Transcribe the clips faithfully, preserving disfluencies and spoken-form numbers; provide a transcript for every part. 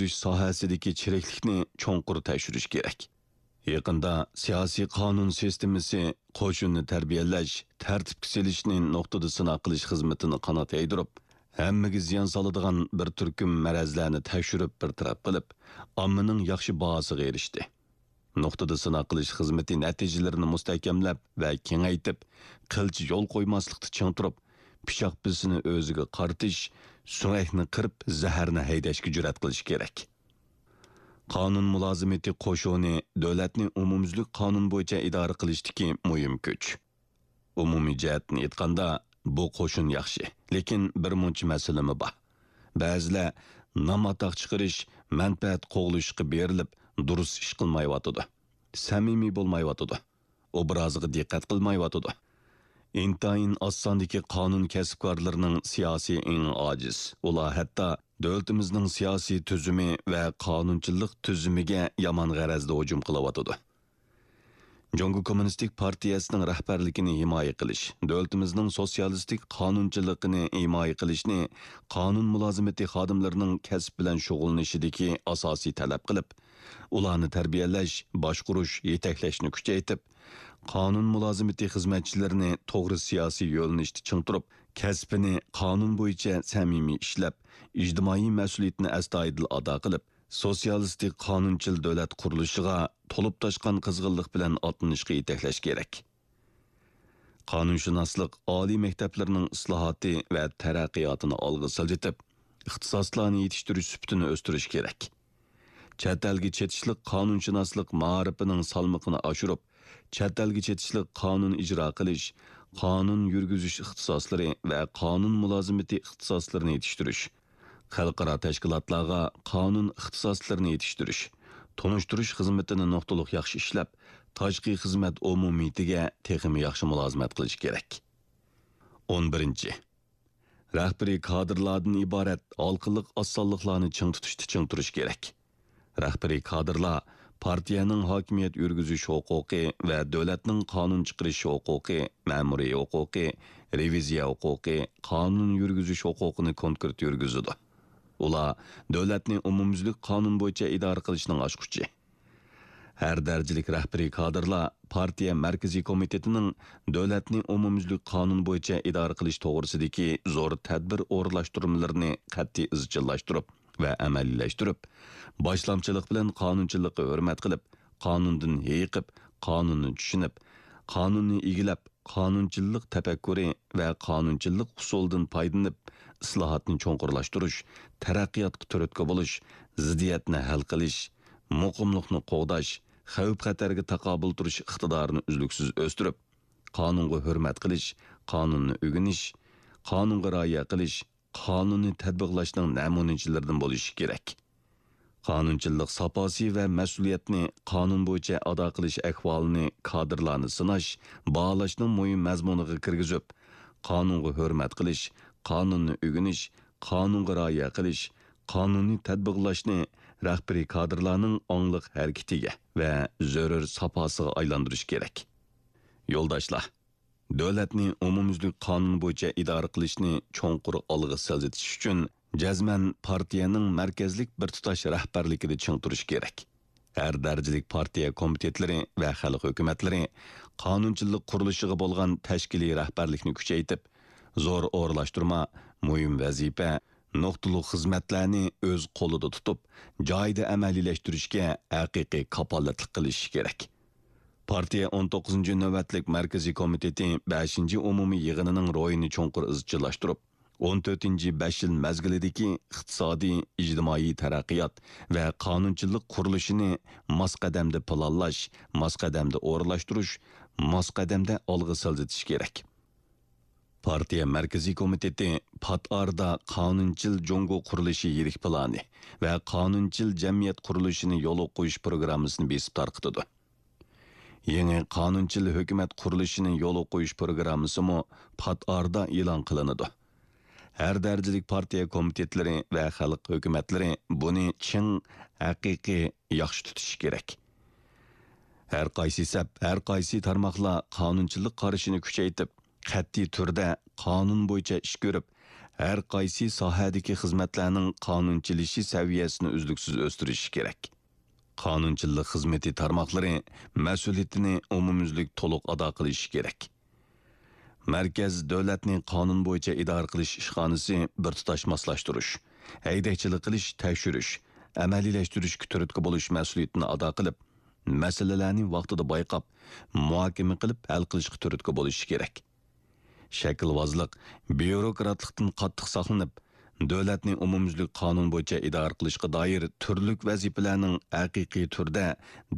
يۈرگۈزۈش ساھەسىدىكى چىرىكلىكنى چوڭقۇر تەكشۈرۈش كېرەك. يېقىندا سىياسىي قانۇن سىستېمىسى، قوشۇننى تەربىيەلەش، تەرتىپكە سېلىشنى نۇقتىدا سىناق قىلىش خىزمىتىنى قانات يايدۇرۇپ، ھەممىگە زىيان سالىدىغان بىر تۈركۈم مەرەزلەرنى تەكشۈرۈپ بىر تەرەپ قىلىپ، ئاممىنىڭ ياخشى باھاسىغا ئېرىشتى. نۇقتىدا سىناق قىلىش خىزمىتى نەتىجىلىرىنى مۇستەھكەملەپ ۋە كېڭەيتىپ، قىلچە يول قويماسلىقتا چىڭ تۇرۇپ، پىچاق بىلىسىنى ئۆزىگە قارىتىش، سۆڭەكنى قىرىپ، زەھەرنى ھەيدەشكە جۈرئەت قىلىش كېرەك. قانۇن مۇلازىمىتى قوشۇنى دۆلەتنى ئومۇميۈزلۈك قانۇن بويىچە ئىدارە قىلىشتىكى مۇھىم كۈچ. ئومۇمىي جەھەتتىن ئېيتقاندا، بۇ قوشۇن ياخشى، لېكىن بىر مۇنچە مەسىلىمۇ بار. بەزىلەر نام-ئاتاق چىقىرىش، مەنپەئەت قوغلىشىشقا بېرىلىپ، دۇرۇس ئىش قىلمايۋاتىدۇ، سەمىمىي بولمايۋاتىدۇ، ئوبرازىغا دىققەت قىلمايۋاتىدۇ. ئىنتايىن ئاز ساندىكى قانۇن كەسىپكارلىرىنىڭ سىياسىي ئېڭى ئاجىز. ئۇلار ھەتتا دۆلىتىمىزنىڭ سىياسىي تۈزۈمى ۋە قانۇنچىلىق تۈزۈمىگە يامان غەرەزدە ھۇجۇم قىلىۋاتىدۇ. جۇڭگو كوممۇنىستىك پارتىيەسىنىڭ رەھبەرلىكىنى ھىمايە قىلىش، دۆلىتىمىزنىڭ سوتسىيالىستىك قانۇنچىلىقىنى ھىمايە قىلىشنى قانۇن مۇلازىمىتى خادىملىرىنىڭ كەسىپ بىلەن شۇغۇللىنىشىدىكى ئاساسىي تەلەپ قىلىپ، ئۇلارنى تەربىيەلەش، باشقۇرۇش، يېتەكلەشنى كۈچەيتىپ، قانۇن مۇلازىمىتى خىزمەتچىلىرىنى توغرا سىياسىي يۆنىلىشتە چىڭ تۇرۇپ، كەسپىنى قانۇن بويىچە سەمىمىي ئىشلەپ، ئىجتىمائىي مەسئۇلىيىتىنى ئەستايىدىل ئادا قىلىپ، سوتسىيالىستىك قانۇنچىل دۆلەت قۇرۇلۇشىغا تولۇپ تاشقان قىزغىنلىق بىلەن ئاتلىنىشقا يېتەكلەش كېرەك. قانۇنشۇناسلىق ئالىي مەكتەپلىرىنىڭ ئىسلاھاتى ۋە تەرەققىياتىنى ئالغا سىلجىتىپ، ئىختىساسلارنى يېتىشتۈرۈش سۈپىتىنى ئۆستۈرۈش كېرەك. چەت ئەلگە چېتىشلىق قانۇنشۇناسلىق مائارىپىنىڭ سالمىقىنى ئاشۇرۇپ، چەت ئەلگە چېتىشلىق قانۇن ئىجرا قىلىش، قانۇن يۈرگۈزۈش ئىختىساسلىرى ۋە قانۇن مۇلازىمىتى ئىختىساسلىرىنى يېتىشتۈرۈش، خەلقئارا تەشكىلاتلارغا قانۇن ئىختىساسلىرىنى يېتىشتۈرۈش، تونۇشتۇرۇش خىزمىتىنى نۇقتىلىق ياخشى ئىشلەپ، تاشقى خىزمەت ئومۇمىيىتىگە تېخىمۇ ياخشى مۇلازىمەت قىلىش كېرەك. ئون بىرىنچى، رەھبىرىي كادىرلاردىن ئىبارەت ھالقىلىق ئاز سانلىقلارنى چىڭ تۇتۇشتا چىڭ تۇرۇش كېرەك. رەھبىرىي كادىرلار پارتىيەنىڭ ھاكىمىيەت يۈرگۈزۈش ھوقۇقى ۋە دۆلەتنىڭ قانۇن چىقىرىش ھوقۇقى، مەمۇرىي ھوقۇقى، رېۋىزىيە ھوقۇقى، قانۇن يۈرگۈزۈش ھوقۇقىنى كونكرېت يۈرگۈزىدۇ. ئۇلار دۆلەتنى ئومۇميۈزلۈك قانۇن بويىچە ئىدارە قىلىشنىڭ ئاچقۇچى. ھەر دەرىجىلىك رەھبىرىي كادىرلار پارتىيە مەركىزىي كومىتېتىنىڭ دۆلەتنى ئومۇميۈزلۈك قانۇن بويىچە ئىدارە قىلىش توغرىسىدىكى زور تەدبىر ئورۇنلاشتۇرمىلىرىنى قەتئىي ئىزچىللاشتۇرۇپ ۋە ئەمەلىيلەشتۈرۈپ، باشلامچىلىق بىلەن قانۇنچىلىققا ھۆرمەت قىلىپ، قانۇندىن ھېيىقىپ، قانۇننى چۈشىنىپ، قانۇننى ئىگىلەپ، قانۇنچىللىق تەپەككۇرى ۋە قانۇنچىللىق ئۇسۇلىدىن پايدىلىنىپ، ئىسلاھاتنى چوڭقۇرلاشتۇرۇش، تەرەققىياتقا تۈرتكە بولۇش، زىددىيەتنى ھەل قىلىش، مۇقىملىقنى قوغداش، خەۋپ-خەتەرگە تاقابىل تۇرۇش ئىقتىدارىنى ئۈزلۈكسىز ئۆستۈرۈپ، قانۇنغا ھۆرمەت قىلىش، قانۇننى ئۆگىنىش، قانۇنغا رىئايە قىلىش، قانۇننى تەتبىقلاشنىڭ نەمۇنىچىلىرىدىن بولۇشى كېرەك. قانۇنچىللىق ساپاسى ۋە مەسئۇلىيەتنى قانۇن بويىچە ئادا قىلىش ئەھۋالىنى كادىرلارنى سىناش، باھالاشنىڭ مۇھىم مەزمۇنىغا كىرگۈزۈپ، قانۇنغا ھۆرمەت قىلىش، قانۇننى ئۆگىنىش، قانۇنغا رىئايە قىلىش، قانۇننى تەتبىقلاشنى رەھبىرىي كادىرلارنىڭ ئاڭلىق ھەرىكىتىگە ۋە زۆرۈر ساپاسىغا ئايلاندۇرۇش كېرەك. يولداشلار، دۆلەتنى ئومۇميۈزلۈك قانۇن بويىچە ئىدارە قىلىشنى چوڭقۇر ئالغا سىلجىتىش ئۈچۈن، جەزمەن پارتىيەنىڭ مەركەزلىك بىر تۇتاش رەھبەرلىكىدە چىڭ تۇرۇش كېرەك. ھەر دەرىجىلىك پارتىيە كومىتېتلىرى ۋە خەلق ھۆكۈمەتلىرى قانۇنچىلىق قۇرۇلۇشىغا بولغان تەشكىلىي رەھبەرلىكنى كۈچەيتىپ، زور ئورۇنلاشتۇرما، مۇھىم ۋەزىپە، نۇقتىلىق خىزمەتلەرنى ئۆز قولىدا تۇتۇپ، جايىدا ئەمەلىيلەشتۈرۈشكە ھەقىقىي كاپالەتلىك قىلىشى كېرەك. پارتىيە ئون توققۇزىنچى نۆۋەتلىك مەركىزىي كومىتېتى بەشىنچى ئومۇمىي يىغىنىنىڭ روھىنى چوڭقۇر ئىزچىللاشتۇرۇپ، ئون تۆتىنچى بەش يىل مەزگىلىدىكى ئىقتىسادىي، ئىجتىمائىي تەرەققىيات ۋە قانۇنچىلىق قۇرۇلۇشىنى ماس قەدەمدە پىلانلاش، ماس قەدەمدە ئورۇنلاشتۇرۇش، ماس قەدەمدە ئالغا سىلجىتىش كېرەك. پارتىيە مەركىزىي كومىتېتى پات ئارىدا قانۇنچىل جۇڭگو قۇرۇلۇشى يىرىك پىلانى ۋە قانۇنچىل جەمئىيەت قۇرۇلۇشىنى يولغا قويۇش پروگراممىسىنى بېسىپ تارقىتىدۇ. يېڭى قانۇنچىل ھۆكۈمەت قۇرۇلۇشىنى يولغا قويۇش پروگراممىسىمۇ پات ئارىدا ئېلان قىلىنىدۇ. ھەر دەرىجىلىك پارتىيە كومىتېتلىرى ۋە خەلق ھۆكۈمەتلىرى بۇنى چىڭ، ھەقىقىي ياخشى تۇتۇشى كېرەك. ھەر قايسى سەپ، ھەر قايسى تارماقلار قانۇنچىلىق قارىشىنى كۈچەيتىپ، قەتئىي تۈردە قانۇن بويىچە ئىش كۆرۈپ، ھەر قايسى ساھەدىكى خىزمەتلەرنىڭ قانۇنچىلىشى سەۋىيەسىنى ئۈزلۈكسىز ئۆستۈرۈشى كېرەك. قانۇنچىلىق خىزمىتى تارماقلىرى مەسئۇلىيىتىنى ئومۇميۈزلۈك تولۇق ئادا قىلىشى كېرەك. مەركەز دۆلەتنى قانۇن بويىچە ئىدارە قىلىش ئىشخانىسى بىر تۇتاش ماسلاشتۇرۇش، ھەيدەكچىلىك قىلىش، تەكشۈرۈش، ئەمەلىيلەشتۈرۈشكە تۈرتكە بولۇش مەسئۇلىيىتىنى ئادا قىلىپ، مەسىلىلەرنى ۋاقتىدا بايقاپ، مۇھاكىمە قىلىپ ھەل قىلىشقا تۈرتكە بولۇشى كېرەك. شەكىلۋازلىق، بيۇروكراتلىقتىن قاتتىق ساقلىنىپ، دۆلەتنى ئومۇميۈزلۈك قانۇن بويىچە ئىدارە قىلىشقا دائىر تۈرلۈك ۋەزىپىلەرنىڭ ھەقىقىي تۈردە،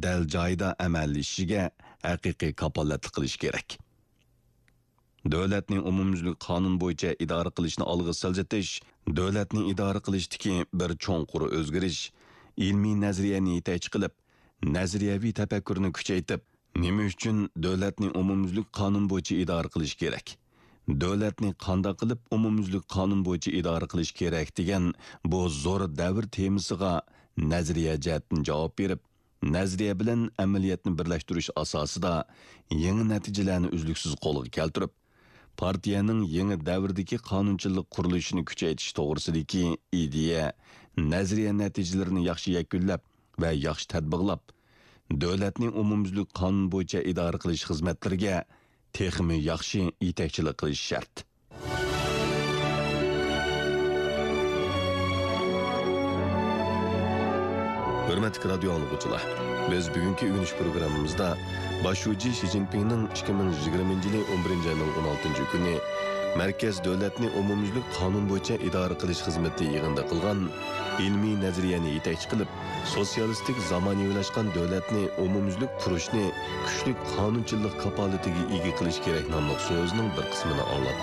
دەل جايىدا ئەمەلىيلىشىشىگە ھەقىقىي كاپالەتلىك قىلىش كېرەك. دۆلەتنى ئومۇميۈزلۈك قانۇن بويىچە ئىدارە قىلىشنى ئالغا سىلجىتىش، دۆلەتنى ئىدارە قىلىشتىكى بىر چوڭقۇر ئۆزگىرىش، ئىلمىي نەزەرىيەنى يېتەكچى قىلىپ، نەزەرىيەۋى تەپەككۇرنى كۈچەيتىپ، نېمە ئۈچۈن دۆلەتنى ئومۇميۈزلۈك قانۇن بويىچە ئىدارە قىلىش كېرەك؟ دۆلەتنى قانداق قىلىپ ئومۇميۈزلۈك قانۇن بويىچە ئىدارە قىلىش كېرەك دېگەن بۇ زور دەۋر تېمىسىغا نەزەرىيە جەھەتتىن جاۋاب بېرىپ، نەزەرىيە بىلەن ئەمەلىيەتنى بىرلەشتۈرۈش ئاساسىدا يېڭى نەتىجىلەرنى ئۈزلۈكسىز قولغا كەلتۈرۈپ، پارتىيەنىڭ يېڭى دەۋردىكى قانۇنچىلىق قۇرۇلۇشىنى كۈچەيتىش توغرىسىدىكى ئىدىيە، نەزەرىيە نەتىجىلىرىنى ياخشى يەكۈنلەپ ۋە ياخشى تەتبىقلاپ، دۆلەتنى ئومۇميۈزلۈك قانۇن بويىچە ئىدارە قىلىش خىزمەتلىرىگە تېخىمۇ ياخشى يېتەكچىلىك قىلىش شەرت. ھۆرمەتلىك رادىيو ئاڭلىغۇچىلار، بىز بۈگۈنكى ئۆگىنىش پروگراممىمىزدا باش شۇجى شى جىنپىڭنىڭ ئىككى مىڭ يىگىرمىنچى يىلى ئون بىرىنچى ئاينىڭ ئون ئالتىنچى كۈنى مەركەز دۆلەتنى ئومۇميۈزلۈك قانۇن بويىچە ئىدارە قىلىش خىزمىتى يىغىنىدا قىلغان ئىلمىي نەزەرىيەنى يېتەكچى قىلىپ، سوتسىيالىستىك زامانىۋىلاشقان دۆلەتنى ئومۇميۈزلۈك قۇرۇشنى كۈچلۈك قانۇنچىلىق كاپالىتىگە ئىگە قىلىش كېرەك ناملىق سۆزىنىڭ بىر قىسمىنى ئاڭلاتتۇق.